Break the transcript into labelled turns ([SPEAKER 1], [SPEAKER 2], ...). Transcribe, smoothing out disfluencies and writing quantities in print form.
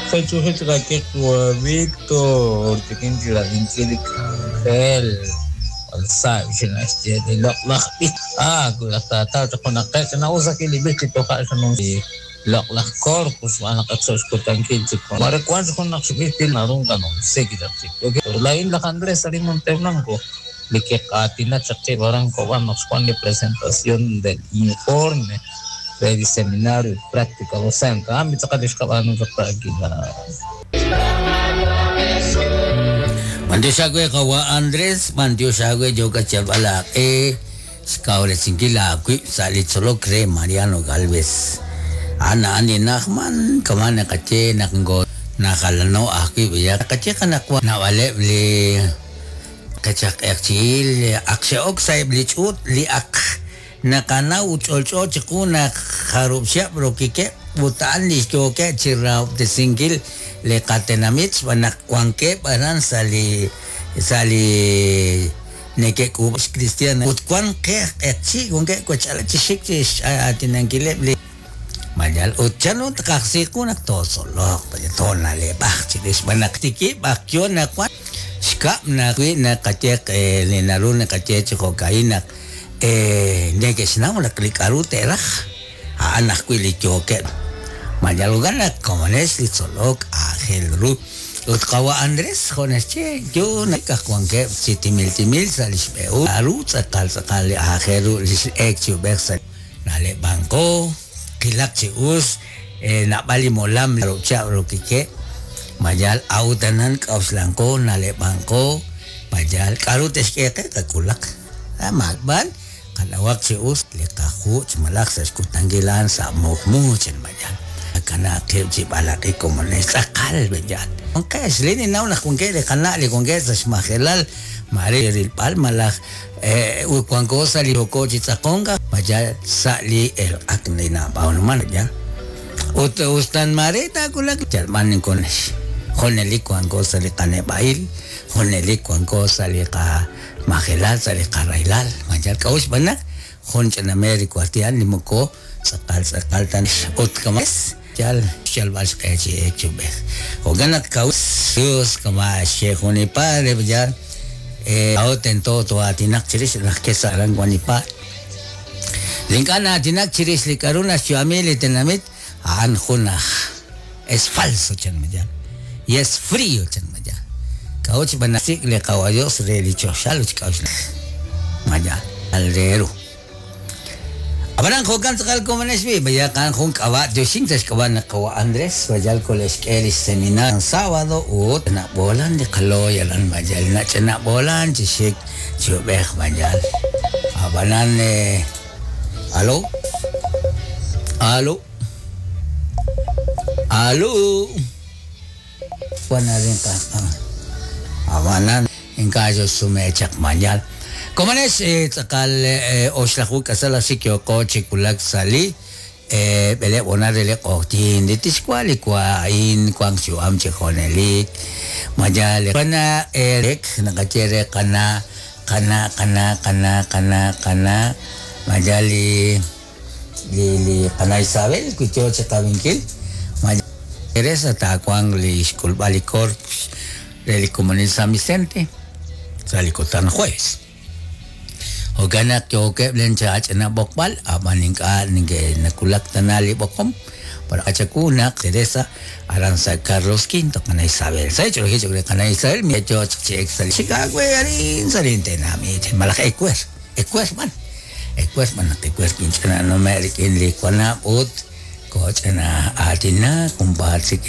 [SPEAKER 1] Xechujichqakik Víctor, chikinchilab'inkil li k'anjel. Sa' xinaxye li loq'laj b'ich. Ah, laj taataw chaq junaqeb' ch'ina'us ajwi' li b'ich li toja' xanumsi loq'laj corpus xb'aan naq ak sa' xkutankil chik. Mare wan junaq xb'ich li naru nqanumsi chaq chik. Laa'in laj Andrés arin Monteblanco li kiqaatina chaq qib' aran Cobán naq xwan li presentación del informe re li seminario y práctica docente. Ah, mitz'aqal li xqab'aanu chaq ta'akila.
[SPEAKER 2] B'antiox aawe qawa' Andrés, b'antiox aawe yookat xyalb'al aaq'e xkawresinkil aawib' sa' li tzolok re Mariano Gálvez. A'an a'an li na'ajman kama' naqaye naq nko najalano ajwi' b'ayaq naqaye qanaqwan naab'aleb' li qechaq'eqchi'il ak xe'ok sa'eb' li ch'uut li ak naqanaw ut ch'olch'o chiqu naq jarub' xihab' rokikeb' ut a'an li xyookeb' chi rahob'tesinkil li qatenamit xb'aan naq wankeb' aran sa' li sa' li neke'k'uub' xkristian ut wan qe aj q'eqchi' wankeb' wech'alal chi xik chi x'aatinankileb' li mayal ut chanru tqajsi qu naq tootzoloq toona'leb'aq chirix xb'aan naq tikib' ak yo naq wan xkab' naq wi naqaye li naru naqaye chi jo'ka'in naq neke'xnaw naq li k'a'ru te'raj a'an ajwi' li yookeb' mayal jo'kan naq komonex li tzolok aajel ru ut qawa' Andrés jo' naxye yo naq aj wankeb' chi timil timil sa' li xb'ehul k'a'ru tz'aqal tz'aqal li aajel ru li x'eek chi ub'ej sa' na'leb'anqo qilaq chi us naab'al li molam rub'chab' rokikeb' mayal awtanan k'awxlanqo na'leb'anqo mayal k'a'ru te'xk'e qe qak'ulaq maakb'al qanawaq chi us li qajuch' malaj sa' xkutankil a'an sa' muqmu chan mayal kanaqeb' chi b'alaq'i komonex tz'aqal b'eyal wanqex li ninnaw naq wankeb' li qana' li wankeb' sa' xmajelal mare rilb'al malaj ut wanko sa' li yoko chi tz'aqonk mayal sa' li elq'ak li nab'aanuman ya ut ustan mare taawulaq yalb'an ninkonex junelik wanko sa' li qaneb'a'il junelik wanko sa' li qamajelal sa' li qaraylal mayal k'a'ux xb'aan naq jun ch'inamej li kuartian li moko tz'aqal tz'aqal tan ut kamas yal xyalb'al xq'e chi eek chi ub'ej jo'kan naq kawus Dios kama xye jun li padre yal aw tento to'aatinaq chirix laj kesa aran wan li pa li ink'a' na'aatinak chirix li k'a'ru naxyu'ami li tenamit a'an jun aj es falso chan mayal y es frío chan mayal k'a'ut xb'aan naq sik' li qawa Dios re li choxal ut xk'a'uxl mayal al re ru Ab'anan jo'kan tz'aqal komonex b'i' bayaq a'an jun k'ab'a' tioxink sa' xk'ab'a' naq qawa' Andrés mayal kole'xk'e li xseminar sábado ut nab'oolan li qalooy aran mayal nach'inab'oolan chi xik chi ub'ej mayal ab'anan alo alo alo wan arin qa ab'anan ink'a' xsume chaq mayal komonex tz'aqal oxlaju k'asal ajxik yooko chi wulak sa' li b'eleb' honal re li q'oqyink li tixwa' li wa a'in wank xyu'am chi junelik mayal qana erek naqaye re qana qana qana qana qana qana mayal li li li qana Isabel wi yo chi qawinkil mayal Teresa taawanq li xk'ulb'al li corpus re li komonil San Vicente sa' li kutan jueves. Jo'kan naq yookeb' len chach'ina b'oqb'al ab'an ink'a' nawulak tana li b'oqom para achaku naq Teresa aran sa' Carlos V qana Isabel sa' ch'olojil ch'olojil qana Isabel mi yo chi ek sa' Chicago arin sa' lintenamit malaj ewer ewer b'an ewer b'an naq ewer kinch'ina nume' rik'in li wanab' ut koch'ina aatina junpaat chik.